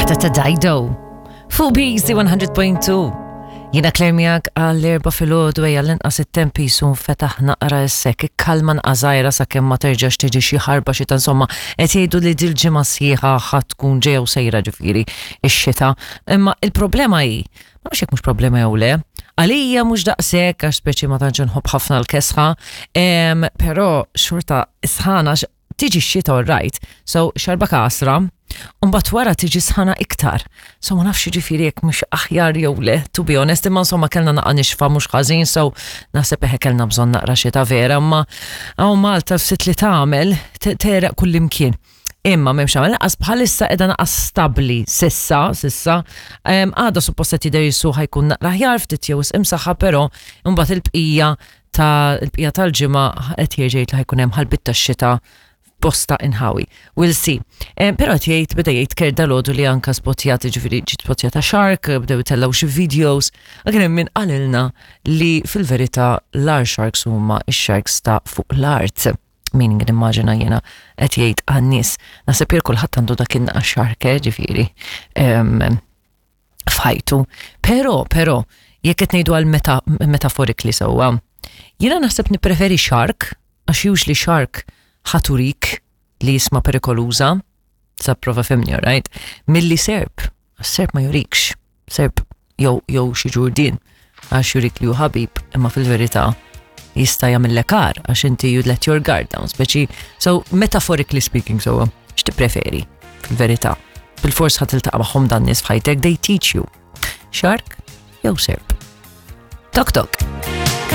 Waħda ta' Dido. Fuq BC 100.2. Jiena Claire miegħek għall-erba' filgħodu ejja l-inqas it-temp jisu nfetaħ naqra issek, ikkalma nqażajra sakemm ma terġax tiġi xi ħarba xita insomma qed jgħidu li dil-ġimgħa sħiħa ħa tkun ġejja u sejra ġifieri ix-xita. Imma il-problema hi, ma nafx jekk mhux problema jew le, għalija mhux daqshekk għax speċi ma tantx inħobb ħafna l-kesħa, però xorta sħana tiġi x-xita all right, so xarba kasra, u mbagħad wara tiġi sħana iktar. So ma nafx ġifieri jekk mhux aħjar jew le, to be honest, imma insomma kellna naqa' nixfa mhux ħażin, so naħseb eħe kellna bżonn naqra xita vera, imma hawn Malta ftit li tagħmel tereq kullimkien. Imma m'hemmx għamel laqas bħalissa qiegħda naqas stabbli sissa, sissa. Għada suppost qed jidher jisu ħajkun naqra aħjar ftit jew imsaħħa, però mbagħad il-bqija ta' il-bqija tal-ġimgħa qed jerġa' jgħid li ħajkun hemm ħalbit tax-xita f'bosta inħawi. We'll see. Però qed jgħid beda jgħid Kurt dalgħodu li anka spotjat, ġifieri ġiet spotjata shark, bdew itellgħu xi videos, kien hemm min qalilna li fil-verità l-agħar sharks huma x-sharks ta' fuq l-art. Meaning nimmaġina jiena qed jgħid għan-nies. Naħseb jien kulħadd għandu dak in-naqas shark, ġifieri. F'ħajtu. Però, però, jekk qed ngħidu għal meta, metaphorically sewwa, jiena naħseb nippreferi shark, għax usually shark ħaturik li jisma perikoluża, sa prova fimni, right? Milli serp, għax serp ma jurikx, serp jew jew xi ġurdien għax jurik li hu ħabib, imma fil-verità jista' jagħmillek għar għax inti you let your guard down, speċi so metaphorically speaking so x'tippreferi fil-verità? Bil-fors ħa tiltaqa' magħhom dan nies f'ħajtek, they teach you. Shark jew serp. Tok tok.